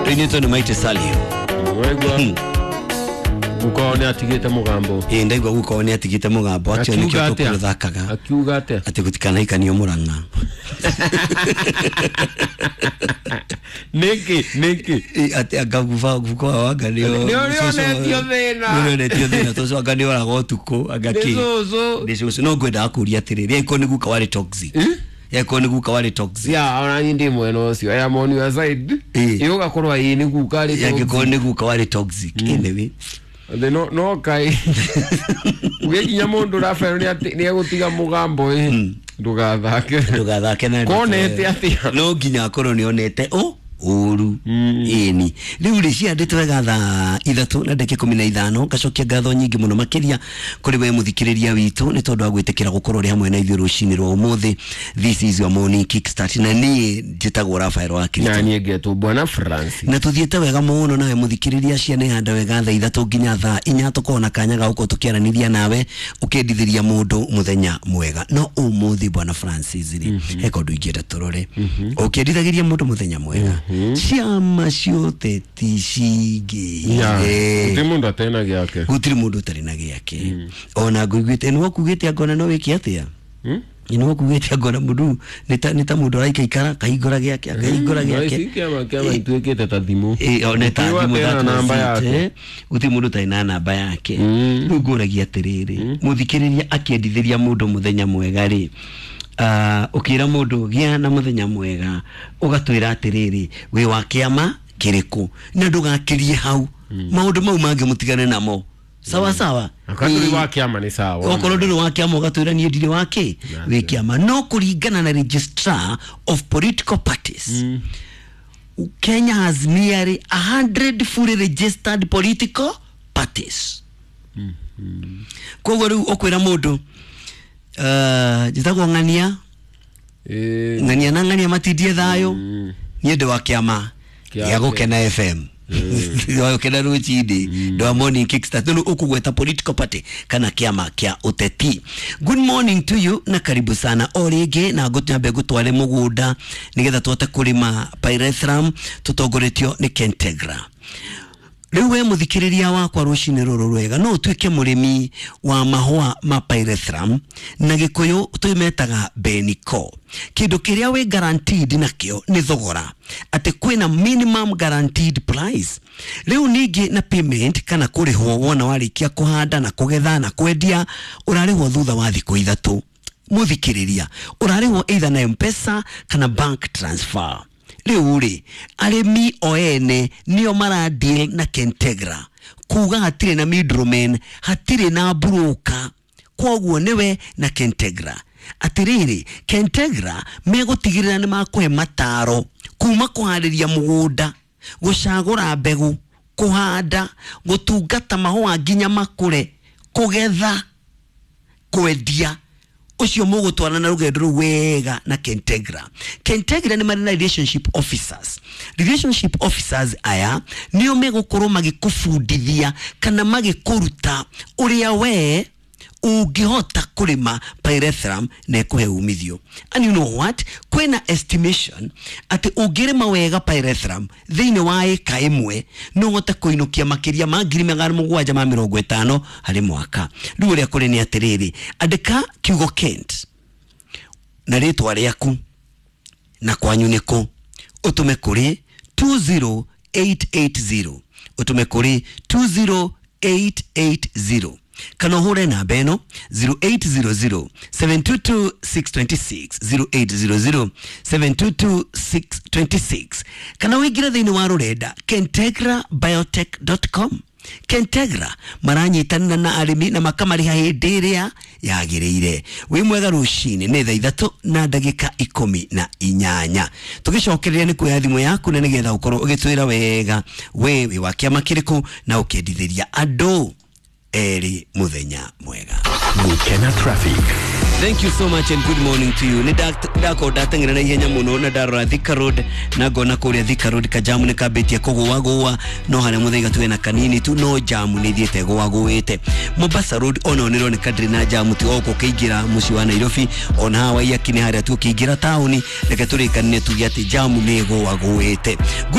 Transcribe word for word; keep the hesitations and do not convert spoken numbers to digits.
Rĩinĩtwo nĩ Maite Salio. Waigua guka wao nĩ atigĩte mũgambo. Ĩ, ndaigua guka wao nĩ atigĩte mũgambo atĩ nĩkĩo Akiuga atĩa? tũkũrũthakaga. Akiuga atĩa? Atĩ gũtikanaikanio Mũrang'a. Nĩkĩ nĩkĩ? Ĩ, atĩ anga guka guka wao anga nĩo Nĩ ũrĩa onetio thĩna. Nĩ ũrĩa onetio thĩna tũcũ anga nĩ oraga ũtukũ anga Nĩ kĩ. cũcũ. Nĩ cũcũ. No ngwendaga kũria atĩrĩrĩ, angĩkorwo nĩ guka warĩ toxic. Angĩkorwo nĩ guka warĩ toxic. Ya ona niĩ ndĩ mwena ũcio. I am on your side. Ĩ. Ĩ ũgakorwo ĩ nĩ guka arĩ toxic. Angĩkorwo nĩ guka warĩ toxic. Anyway. Thĩ no no kai ũgĩkinya mũndũ Rafael nĩ atĩ- nĩ egũtiga mũgambo ĩ ndũgathake. Ndũgathake na ndeto Konete ĩyo. atĩa? No nginya akorwo nĩ onete ũ ũru. Ĩni rĩu rĩ ciandĩtwo wega thaa ithatũ na ndagĩka ikũmi na ithano. Ngacokia ngatho nyingĩ mũno makĩria kũrĩ we mũthikĩrĩria witũ nĩ tondũ wa gwĩtĩkĩra gũkorwo ũrĩ hamwe na ithuĩ rũcinĩ rwa ũmũthĩ. This is your morning kickstart na niĩ njĩtagwo Rafael wa Kristo. Na niĩ ngetwo Bwana Francis. Na tuthiĩte wega mũno nawe mũthikĩrĩria, ciana ihanda wega thaa ithatũ nginya thaa inya tũkorwo na kanya ga gũkorwo tũkĩaranĩria nawe ũkĩendithĩria mũndũ mũthenya mwega. No ũmũthĩ Bwana Francis rĩ, he kaũndũ ingĩenda tũrore. Ũkĩendithagĩria mũndũ mũthenya mwega, ciama cia ũteti Ya, cingĩire gũtirĩ mũndũ atarĩ na gĩake. Gũtirĩ mũndũ ũtarĩ na gĩake. Ona ngũiguĩte nĩ wakugĩte angona no wĩke atĩa? Hmm? Nĩ wakugĩte angona mũndũ nĩ ta nĩ ta mũndũ araikaikara akahingũra gĩake akahingũra Na gĩake. ici kĩama kĩama ituĩkĩte ta thimũ. Ĩ, o, nĩ ta Gũtirĩ thimũ ũtarĩ na that namba was it, yake. eh. Gũtirĩ mũndũ ũtarĩ na namba yake. Mm. Rĩu ngũragia atĩrĩrĩ, mũthikĩrĩria akĩendithĩria mũndũ mũthenya mwega rĩ, ah, ũkĩra mũndũ gĩa na mũthenya mwega ũgatwĩra atĩrĩrĩ wĩ wa kĩama kĩrĩkũ na ndũgakĩrie hau maũndũ mau mangĩ mũtigane namo sawa sawa. Akorwo ndũrĩ Ĩ, wa kĩama nĩ sawa. Okorwo ndũrĩ wa kĩama ũgatwĩra niĩ ndirĩ wa kĩ wĩ kĩama. No kũringana na registrar of political parties, Kenya has nearly a hundred fully registered political parties. Koguo rĩu ũkwĩra mũndũ uh, njĩtagwo ng'ania Ĩ, ng'ania na ng'ania matindie thayũ, Mm. niĩ ndĩ wa kĩama Kĩa- gĩa Gũkena F M wa Gũkena rũcinĩ ndĩ wa morning kickstart. Rĩu ũkũgweta political party kana kĩama kĩa ũteti. Good morning to you na karibu sana o rĩngĩ, na ngũnyambe ngũtware mũgũnda nĩgetha tũhote kũrĩma pyrethrum tũtongoretio nĩ Kentegra. Rĩu we mũthikĩrĩria wakwa rũcinĩ rũrũ rwega, no ũtuĩke mũrĩmi wa mahũa ma pyrethrum na gĩkũyũ twĩmetaga beniko. Kĩndũ kĩrĩa wĩ guaranteed nakĩo nĩ thogora, atĩ kwĩna minimum guaranteed price. Rĩu ningĩ na payment kana kũrĩhwo wona warĩkia kũhanda na kũgetha na kwendia, ũrarĩhwo thutha wa thikũ ithatũ. Mũthikĩrĩria, ũrarĩhwo either na M-Pesa kana bank transfer. Rĩu rĩ, arĩmi o ene nĩo mara deal na Kentegra, kuga hatirĩ na middleman, hatirĩ na broker, koguo nĩwe na Kentegra. Atĩrĩrĩ, Kentegra megũtigĩrĩra nĩ makũhe mataro kuma kũharĩria mũgũnda, gũcagũra mbegũ, kũhanda, gũtungata mahũa nginya makũre, kũgetha, kwendia. Ũcio mũgũtwarana na rũgendo rũu wega na Kentegra. Kentegra nĩ marĩ na relationship officers. Relationship officers aya nĩo megũkorwo magĩkũbundithia kana magĩkũruta ũrĩa we ũngĩhota kũrĩma pyrethrum na ĩkũhe umithio. And you know what? Kwĩna estimation atĩ ũngĩrĩma wega pyrethrum thĩinĩ wa ĩka ĩmwe no ũhote kũinũkia makĩria ma ngiri magana mũgwanja ma mĩrongo ĩtano harĩ mwaka. Rĩu ũrĩa kũrĩ nĩ atĩrĩrĩ, andĩka kiugo Kent na rĩtwa rĩaku na kwanyu nĩkũ, ũtũme kũrĩ two zero eight eight zero, ũtũme kũrĩ two zero eight eight zero kana ũhũre namba ĩno zero eight zero zero seven two two six twenty six, zero eight zero zero seven two two six twenty six, kana ũingĩre thĩinĩ wa rũrenda kentegra biotech dot com. Kentegra maranyitanĩra na arĩmi na makamarĩha hĩndĩ ĩrĩa yagĩrĩire. Wĩ mwega rũcinĩ nĩ thaa ithatũ na ndagĩka ikũmi na inyanya. Tũgĩcokereria nĩ kuoya thimũ yaku na nĩgetha ũkorwo ũgĩtwĩra wega we wĩ wa kĩama kĩrĩkũ na ũkĩendithĩria andũ erĩ mũthenya mwega. Gukena traffic. Thank you so much and good morning to you. Nĩ ndakorwo ndateng'era na ihenya mũno na ndarora Thika Road na ngona kũrĩa Thika Road kajamu nĩ kambĩtie kũgũagũa, no harĩa Muthaiga tuwe na kanini tu, no jamu nĩ ithiĩte gũagũĩte. Mombasa Road ona nĩ ĩroneka ndĩrĩ na jamu ti gũkũ ũkĩingĩra mũciĩ wa Nairobi, ona haha Waiyaki nĩ harĩa tu ũkĩingĩra taũni, reke tũrĩkanĩre tuge atĩ jamu nĩ ĩgũagũĩte. Good